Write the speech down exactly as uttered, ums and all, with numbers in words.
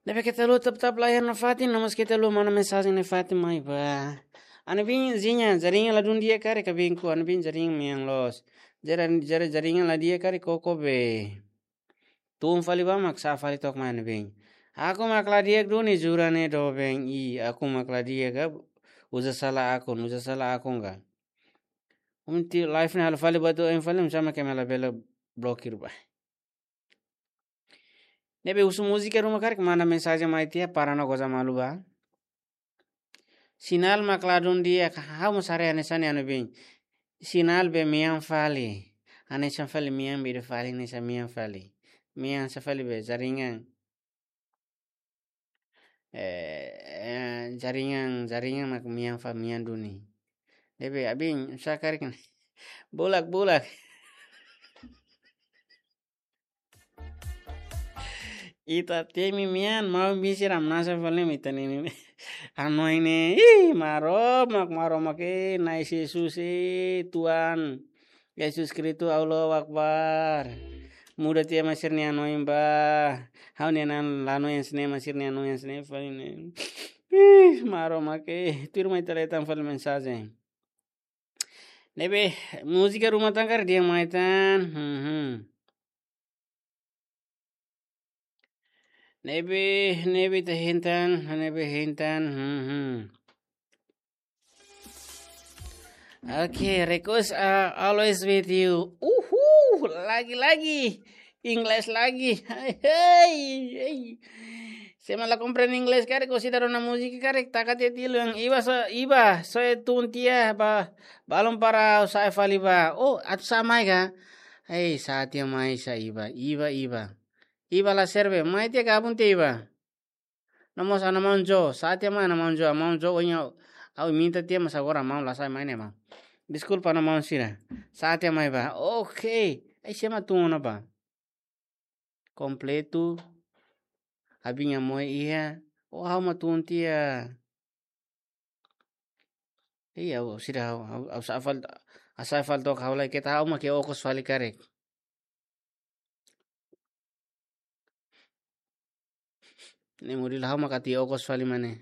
Ne'ebé keta haluha tap-tap layar nafatin, no mós keta haluha manda mensajen nafatin mai bá. Ha'u-nia biin, jaringan, jaringan ladún di'ak karik, ha'u-nia biin, ha'u-nia biin jaringan mean loos. Jara, jara, jaringan la di'ak karik koko be. Tun fali bá mak sa'e fali took mai, ha'u-nia biin. Akun mak la di'ak duni, jura ne'e doben, i, akun mak la di'ak ka, uza sala akun, uza sala akun ka. Umti live ne'e halo fali bá tu em fali, sama ke mela bela blokir bá. Ne'ebé husu múzika ruma karik manda mensajen mai tiha para no goza malu bá. Sinál mak ladún di'ak, ha'u mós haree hanesan ne'e, ha'u-nia biin. Sinál be mean fali. Hanesan fali mean be ida fali, hanesan mean fali. Mean sá fali be jaringan. Eh, eh, jaringan, jaringan mak mean fa mean duni. Ne'ebé ha'u-nia biin, sá karik. Bulak, bulak. Ita temi mean, maun-biin sira hamnasa fali mak ita-nia ne'e. Hanoin ne'e, ih, Maromak, Maromak, eh, Na'i Jesus, eh, Tuhan. Yesus Kristu, Allahu Akbar. Muda tiha mak sira-nia hanoin bá. Ha'u-nia an la hanoin hanesan ne'e mak sira-nia hanoin hanesan ne'e fali ne'e. Ih, Maromak, eh, tuirmai ita hetan fali mensajen. Ne'ebé, múzika ruma tan karik dehan mai tan. Hmm, hmm. Ne'ebé, ne'ebé ita hein tan, ne'ebé hein tan. Hmm, hmm. Okay, request, uh, always with you. Uhuu, lagi-lagi. Inglés lagi. Hey, hey. Sé mak la komprende inglés karik, ou seidauk rona múzika karik, taka tiha tilun. Iba so, iba, so tun tiha bá, balun para sa'e fali bá. Oh, atu sa'e mai ka? Hey, sa'e tiha mai sá iba, iba, iba. Iba la serve, mai tiha gabung tiha iba. No mós ha'u-nia maun Jo, sa'e tiha mai ha'u-nia maun Jo, maun Jo ohin ha'u, ha'u minta tiha mas agora maun la sa'e mai ne'e maun. Deskulpa ha'u-nia maun sira. Sa'e tiha mai bá. Okay. Ai sé mak tun ona bá. Kompletu. Abin nia moe iha. Oh, ha'u mak tun tiha. Iya, ha'u sira ha'u, ha'u, ha'u sa'e fali, ha'u sa'e fali took ha'u lai keta ha'u mak okos fali karik. Ne'e mudi la ha'u mak atu okos fali mane.